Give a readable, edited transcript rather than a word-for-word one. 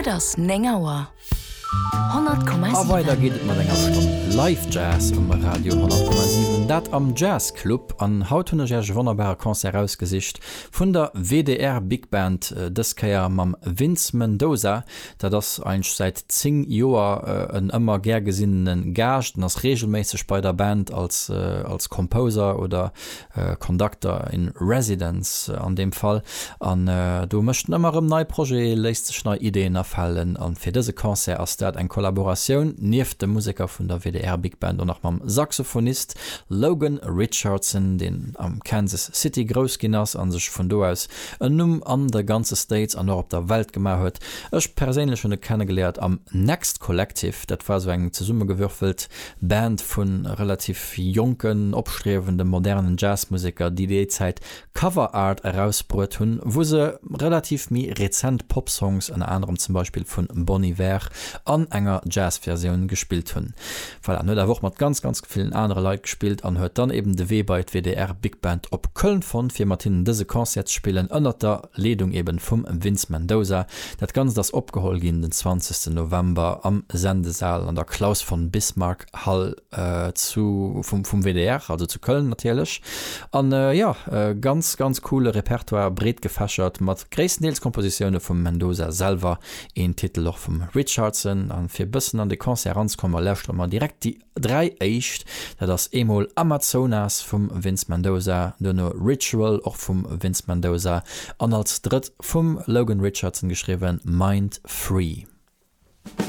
Et ass 9 Auer. A weider 100,7. geet et mat enger Stonn Live Jazz um Radio 100,7, dat am Jazz Club. An haut hunn ech Iech e wonnerbare Concert erausgesicht vun der WDR Big Band, dës Kéier mam Vince Mendoza. Dat ass eigentlech säit 10 Joer en ëmmer gär gesinnene Gaascht en ass reegelméisseg bei der Band als als Composer oder Conductor in Residence an deem Fall. An do mécht en ëmmer erëm nei Projete, léisst sech nei Ideeën afalen. An fir dëse Concert ass dat eng Kollaboratioun nieft de Museker vun der WDR Big Band och nach mam Saxophonist Logan Richardson, deen am Kansas City grouss ginn ass a sech vun do aus en Numm an de ganze States an och op der Welt gemaach huet. Ech perséinlech hunn e kennegeléiert am Next Collective, dat war sou eng zesummegewürfelt Band vu relativ jonken, opstriewende modernen Jazzmuseker, déi déi Zäit Cover Art erausbruet hunn, wou se relativ méi rezent Popsongs, ënner anerem zum Beispill vun Bon Iver, an enger Jazzversioun gespillt hunn. Voilà, en huet awer och mat ganz, ganz villen anere Leit gespillt an huet dann eben de Wee bei d'WDR Big Band op Köln fonnt, fir mat hinnen dëse Concert ze spillen, ënnert der Leedung eben vum Vince Mendoza. Dat Ganzt ass opgeholl ginn den 20 November am Sendesaal an der Claus von Bismarck Hall zu vum vum WDR, also zu Köln natierlech. An jo, ganz, ganz coole Repertoire, breet gefächert, mat gréisstendeels Kompositioune vum Mendoza selwer, Een Titel och vum Richardson. An fir bëssen an de Concert eranzekommen, lauschtere mer direkt déi 3 éischt. Dat ass eemol Amazonas vum Vince Mendoza, duerno Ritual och vum Vince Mendoza an als drëtt vum Logan Richardson geschriwwen Mind Free.